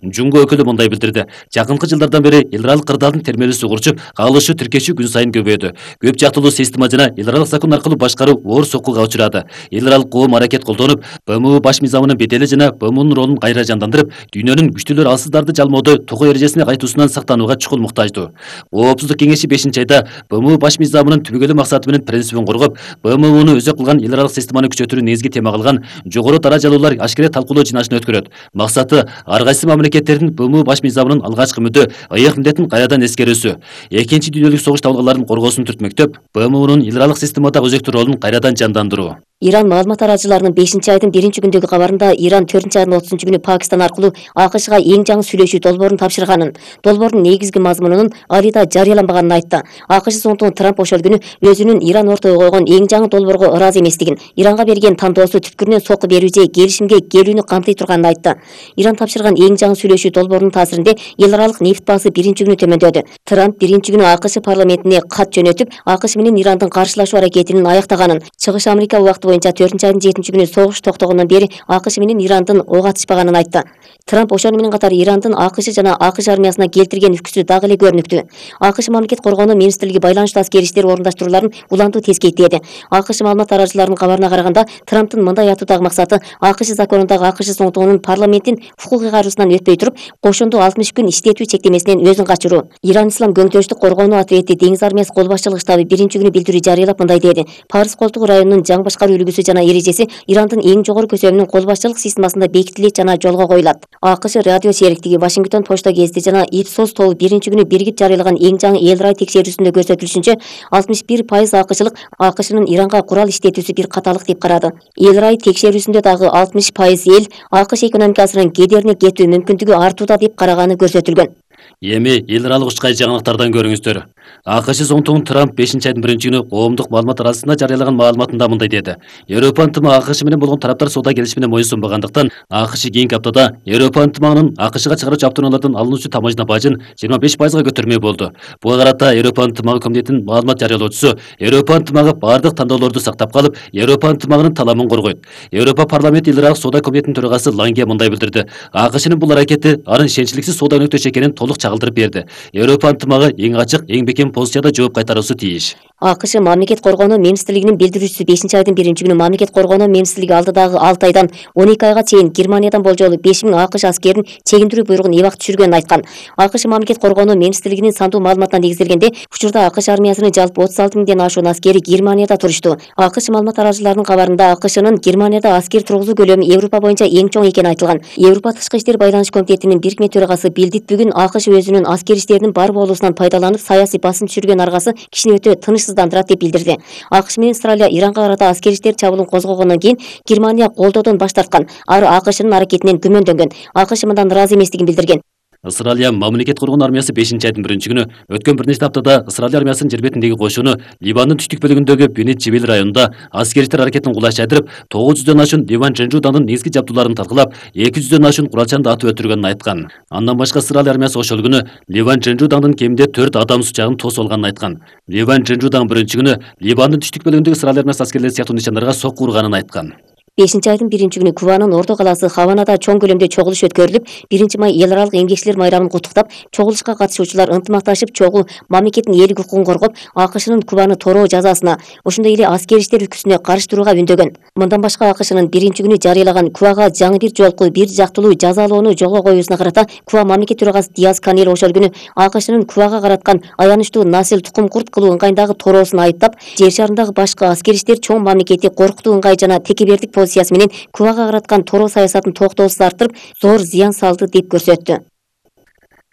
Жунго өкүлү мындай билдирди. Жакынкы жылдардан бери эл аралык кырдаалдын термелүүсү урчуп, кагылышы тиркешүү күн сайын көбөйдү. Көп жактылуу система жана эл аралык закон аркылуу башкаруу оор соккуга учурады. Эл аралык коом аракет колдонуп, БМУ баш мыйзамынын бедели жана БМУнун ролун кайра жандандырып, дүйнөнүн күчтүүлөр алсыздарды жалмоодо тогоо эрежесине кайтуусунан сактанууга чукул муктаждуу. Коопсуздук кеңеши 5-айда БМУ баш мыйзамынын түбөгөлүү максаты менен принцибин коргоп, БМУну өзөк кылган эл аралык системаны күчөтүүнү негизги тема кылган жогору даражалуулар ашкере талкуулоо жыйнашын өткөрөт. Максаты ар кайсы мамлекеттердин БМУ баш мыйзамынын алгачкы мүдө ыйык милдетин кайрадан эскерүүсү, Экинчи дүйнөлүк согуш табылганлардын коргоосун түртмөктөп, БМУнун эл аралык системадагы өзөктүү ролун кайрадан жандандыруу. Иран маалымат таратчыларынын 5-айдын 1-күндөгү кабарында Иран 4-айдын 30-күнү Пакистан аркылуу АКШга эң жаңы сүйлөшүү долбоорун тапшырганын, долбоордун негизги мазмунунун али да жарыяланбаганын айтты. АКШ соңтугун Трамп ошол күнү өзүнүн Иран ортого койгон эң жаңы долбоорго ыраазы эместигин, Иранга берген тандоосу түпкүрүнөн сокку берүү же келишимге келүүнү камтый турганын айтты. Иран тапшырган эң жаңы сүйлөшүү долбоорунун таасиринде эл аралык нефт баасы 1-күнү төмөндөдү. Трамп 1-күнү АКШ парламентине кат жөнөтүп, АКШ менен Ирандын каршылашуу аракетинин аяктаганын, Чыгыш Америка убакыты боюнча 4-айдын 7-күнү согуш токтогондон бери АКШ менен Ирандын ок атышпаганын айтты. Трамп ошону менен катар Ирандын АКШ жана АКШ армиясына келтирген үкүсү дагы эле көрүнүктүү. АКШ мамлекет коргонуу министрлиги байланыштуу аскери иштер орундаштрууларын улантуу тескейттеди. АКШ маалымат таратчыларынын кабарына караганда, Трамптын мындай айтуудагы максаты АКШ законундагы АКШ соңтугунун парламенттин укук ыйгарүүсунан өтпөй туруп, кошундуу 60 күн иштетүү чектемесинен өзүн качыруу. Иран Ислам көңтөштүк коргонуу ответи деңиз армиясы кол башчылык штабы 1-күнү билдирүү жарыялап мындай деди. Парс колтугу районунун жаңы башкаруу үлгүсү жана эрежеси Ирандын эң жогору көсөмүнүн кол башчылык системасында бекитилет жана жолго коюлат. АКШ радио сериктиги Вашингтон почта гезити жана Ipsos тобу 1-күнү биригип жарыялаган эң жаңы эл рай текшерүүсүндө көрсөтүлүшүнчө 61% АКШлык АКШнын Иранга курал иштетүүсү бир каталык деп карады. Эл рай текшерүүсүндө дагы 60% эл АКШ экономикасынын кедерине кетүү мүмкүндүгү артууда деп караганы көрсөтүлгөн. Эми эл аралык учкай жаңылыктардан көрүңүздөр. АКШ соңтугун Трамп 5-айдын 1-күнү коомдук маалымат арасында жарыялаган маалыматында мындай деди. Европа ынтымагы АКШ менен болгон тараптар соода келишимине моюн сунбагандыктан, АКШ кийинки аптада Европа ынтымагынын АКШга чыгаруучу автоунаалардан алынуучу тамажна бажын 25%га көтөрмөй болду. Буга карата Европа ынтымагы комитетинин маалымат жарыялоочусу Европа ынтымагы бардык тандоолорду сактап калып, Европа ынтымагынын таламын коргойт. Европа парламенти эл аралык соода комитетинин төрагасы Ланге мындай билдирди. АКШнын бул аракети арын ишенчтиликсиз соода өнөктөш экенин толук чагылдырып берди. Европа ынтымагы эң ачык, эң бекем позицияда жооп кайтаруусу тийиш. АКШ мамлекет коргонуу министрлигинин билдирүүчүсү 5-айдын 1-күнү мамлекет коргонуу министрлиги алдыдагы 6 айдан 12 айга чейин Германиядан болжолу 5000 АКШ аскерин чегиндирүү буйругун эбак түшүргөнүн айткан. АКШ мамлекет коргонуу министрлигинин сандуу маалыматына негизделгенде, учурда АКШ армиясынын жалпы 36 миңден ашуун аскери Германияда турушту. АКШ маалымат таратчыларынын кабарында АКШнын Германияда аскер тургузуу көлөмү Европа боюнча эң чоң экени айтылган. Европа тышкы иштер байланыш комитетинин бирикме төрагасы Билдит бүгүн АКШ өзүнүн аскер иштеринин бар болуусунан пайдаланып саясий басым түшүргөн аргасы кишини өтө тынычсыздандырат деп билдирди. АКШ менен Австралия Иранга карата аскер иштер чабуулун козгогондон кийин Германия колдоодон баш тарткан. Ар АКШнын аракетинен күмөндөнгөн. АКШ мындан ыраазы эместигин билдирген. Австралия мамлекет коргонуу армиясы 5-айдын 1-күнү өткөн бир нече аптада Австралия армиясынын жер бетиндеги кошуну Ливандын түштүк бөлүгүндөгү Бенет Жебел районунда аскер иштер аракетин кулаш жайдырып, 900дөн ашуун Ливан Женжуданын негизги жабдууларын талкалап, 200дөн ашуун куралчанды атып өлтүргөнүн айткан. Андан башка Австралия армиясы ошол күнү Ливан Женжуданын кеминде 4 адам сучагын тосуп алганын айткан. Ливан Женжудан 1-күнү Ливандын түштүк бөлүгүндөгү Австралия армиясы аскерлери сыяктуу нишандарга сокку урганын айткан. 5-айдын 1-күнү Кубанын орто калаасы Хаванада чоң көлөмдө чогулуш өткөрүлүп, 1-май эл аралык эмгекчилер майрамын куттуктап, чогулушка катышуучулар ынтымакташып чогуу мамлекеттин ээлик укугун коргоп, АКШнын Кубаны тороо жазасына, ошондой эле аскер иштер үкүсүнө каршы турууга үндөгөн. Мындан башка АКШнын 1-күнү жарыялаган Кубага жаңы бир жолку бир жактылуу жазалоону жолго коюусуна карата Куба мамлекет төрагасы Диас Канел ошол күнү АКШнын Кубага караткан аянычтуу насил тукум курт кылуу ыңгайындагы тороосун айыптап, жер шарындагы башка аскер иштер чоң мамлекетти коркутуу ыңгай жана текебердик позициясы менен Кубага караткан тороо саясатын токтоосуз арттырып, зор зыян салды деп көрсөттү.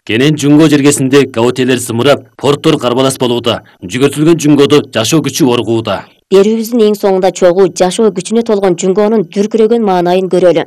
Кенен Жунго жергесинде гаутелер сымырап, порттор карбалас болууда, жүгөртүлгөн Жунгодо жашоо күчү оргууда. Берүүбүздүн эң соңунда чогуу жашоо күчүнө толгон Жунгонун дүркүрөгөн маанайын көрөлү.